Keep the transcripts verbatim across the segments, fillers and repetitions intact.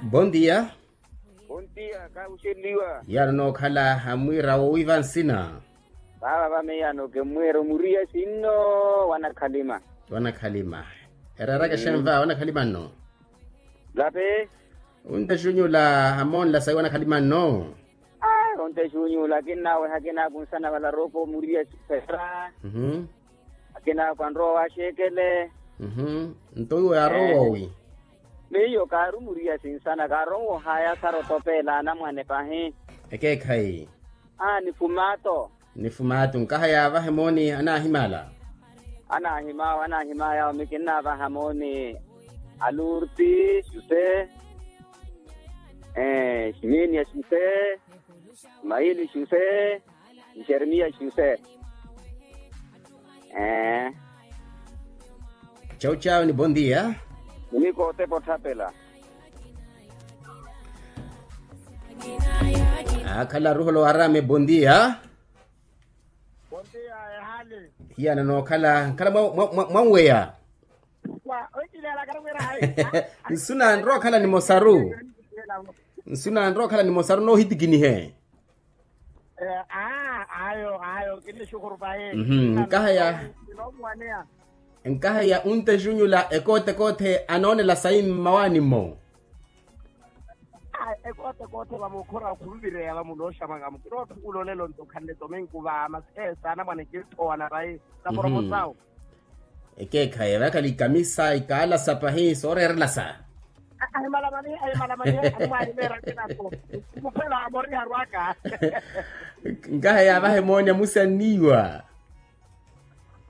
Bondia. Bondia kahuxeliwa. Yano nookhala amwiira wowiiva nsina. Vaava vameyano kemwiira omuriya sinno. Wanakhalima. Wanakhalima. Ereeraka xenva wanakhalima nno. Lape. Onte xunyula amoonla sayi wanakhalima nno. Onte xunyula akinnaweha akinakunsana vala rooko omuriya sifera. Akinaakwa nrowa wa xeekele. Nto iwo yaarowa owi? Miyo kaarumuriya sinsana kaaronwohaya sara otopeela anamwane pahi. Ekeekhayi. Aa ni fumaato. Ni fumaato nkaha yaavahe mooni anaahimala. Anaahimawa anaahimayawo mikinnaavaha mooni. Alurti xuse. Ximinia xuse. Maili xuse. Jeremia xuse. Ee. Chau chau ni bondia. Muniko otepa otthapela. Akhala ruholo arame bondia. Bondia. Ehali. Hiyana nookhala nkhala mwanweya. Nsunanrookhala ni mosaru. Nsunanrookhala ni mosaru noohitikinihe. Ayo ayo kinixukhuru pahi. Nkaha ya nkaha ya unte xunyula ekoote koothe anoonela sayi mmawaani-mo. Ekoote koothe vamukhora khunvireya vamunooxamwaka mukina otthukulolela onto khanle tominku vaama seesa anamwane kinthowana vayi. Kaporomosawo. Ekeekhayi vakhala ikamisa ikaalasa pahi sooreerelasa. Ahimalamani ahimalamani. Ahimalamani. Muphela amoriharwaka. Nkaha yaavahe mooni amusi anniiwa.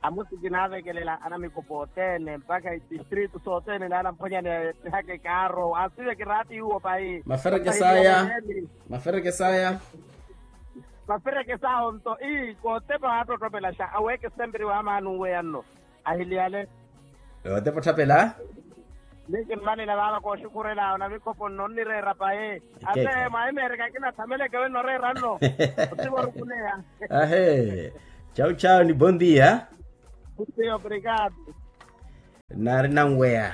Amusi kinaavekelela anamikopo othene mpakha itistritu sothene naana mphonyani epihaka ekaaro asive kiraati iwo pahi. Maferekesaya. Maferekesaya. Maferekesaya onto ii kootepa waattotopelaxa aweeke sempre waamaani uweya nno. Ahiliyale. Otepa otthapela. Ni kimmanina vaava kooxukhurela onamikopo nno onnireera pahi. Ate mwahimeereka kinatthameleke wenno oreera nno. Otivo orukuneya. Ahe. Chau chau ni bondia. Obrigado. Naari nanweya.